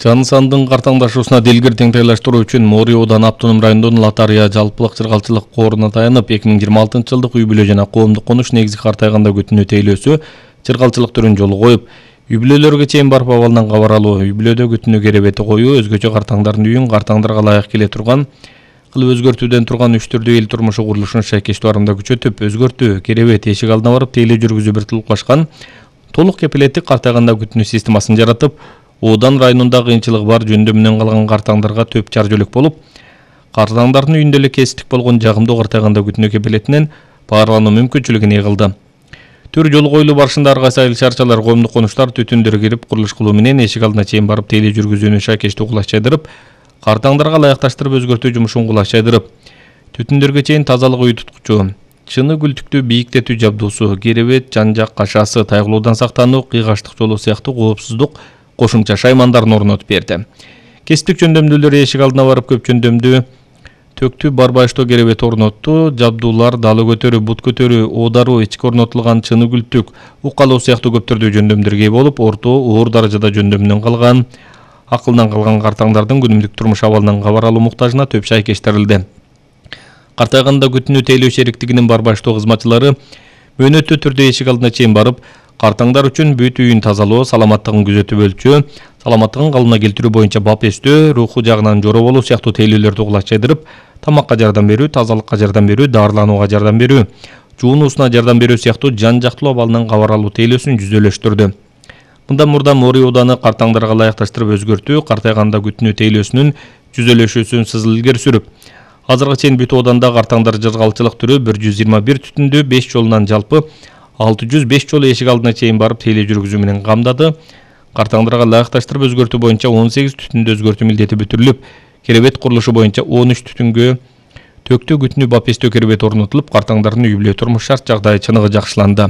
Жан сандын картаңдашуусуна дилгир теңдейлештирүү үчүн Мори Ооданы автоном районунун Латария жалпылык чыргалчылык кооруна таянып 2026 жылдык үй-бүлө жана коомдук конуш негизи картайганда күтүнүү тейлөөсү чыргалчылык түрүн жолу коюп, үй-бүлөлөргө чейин барып абалынан кабар алуу, үй-бүлөдө күтүнүү керебети коюу, өзгөчө картаңдардын үйүн картаңдарга ылайык келе турган кылып өзгөртүүдөн турган 3 түрдүү эл турмушу курулушун шайкештүү арымда күчөтүп, өзгөртүү, керебет, эшик алдына барып тейлөө жүргүзүү бир тулукташкан толук кепилеттик картайганда күтүнүү системасын жаратып, Оодан районунда кыйынчылыгы бар жөндөмүнөн калган картаңдарга төп чар жөлөк болуп, картаңдардын үйүндө эле кесиптик болгон жагымдуу картайганда күтүнүү кепилетинен баарлануу мүмкүнчүлүгүн кылды. Төр жолу коюлуу барышында ар кайсы айыл шаарчалар, коомдук конуштар түтүндөргө кирип курулуш кылуу менен эшик алдына чейин барып тейлөө жүргүзүүнү шайкештүү кулачайдырып, картаңдарга ылайыкташтырып өзгөртүү жумушун кулачайдырып, түтүндөргө чейин тазалык үй туткучу, чыны күлтүктү бийиктетүү жабдуусу, керебет, жан-жак кашасы, тайгылуудан сактануу, кыйгаштык жолу сыяктуу коопсуздук кошумча шаймандарын орнотуп берди. Кесиптик жөндөмдүүлөр эшик алдына барып көп жөндөмдүү төктү барбаштоо керебет орнотту, жабдуулар далы көтөрүү, бут көтөрүү, оодаруу, ички орнотулган чыны күлтүк, укалоо сыяктуу көп түрдүү жөндөмдөргө ээ болуп, орто, оор даражада жөндөмүнөн калган, акылдан калган картаңдардын күнүмдүк турмуш абалынан кабар алуу муктажына төп шайкештирилди. Картайганда күтүнүү тейлөө шериктигинин барбаштоо кызматчылары мөөнөттүү түрдө эшик алдына чейин барып, картаңдар үчүн бүт үйүн тазалоо, саламаттыгын күзөтүп өлчөө, саламаттыгын калыбына келтирүү боюнча бап эстөө, руху жагынан жора болуу сыяктуу тейлөөлөрдү кулачайдырып, тамакка жардам берүү, тазалыкка жардам берүү, дарыланууга жардам берүү, жуунуусуна жардам берүү сыяктуу жан-жактуу абалынан кабар алуу тейлөөсүн жүзөлөштүрдү. Мындан мурда Мори Ооданы картаңдарга ылайыкташтырып өзгөртүү, картайганда күтүнүү тейлөөсүнүн жүзөлөшүүсүн сызыл илгери сүрүп, азыркы чейин бүт Ооданда картаңдар чыргалчылык түрү 121 түтүндүү 5 жолунан жалпы 605 жолу эшик алдына чейин барып тейлөө жүргүзүү менен камдады. Картаңдарга ылайыкташтырып өзгөртүү боюнча 18 түтүндү өзгөртүү милдети бүтүрүлүп, керебет курулушу боюнча 13 түтүнгө төктүү күтүнүү бап эстөө керебет орнотулуп, картаңдардын үй-бүлө турмуш шарт жагдайы чыныгы жакшыланды.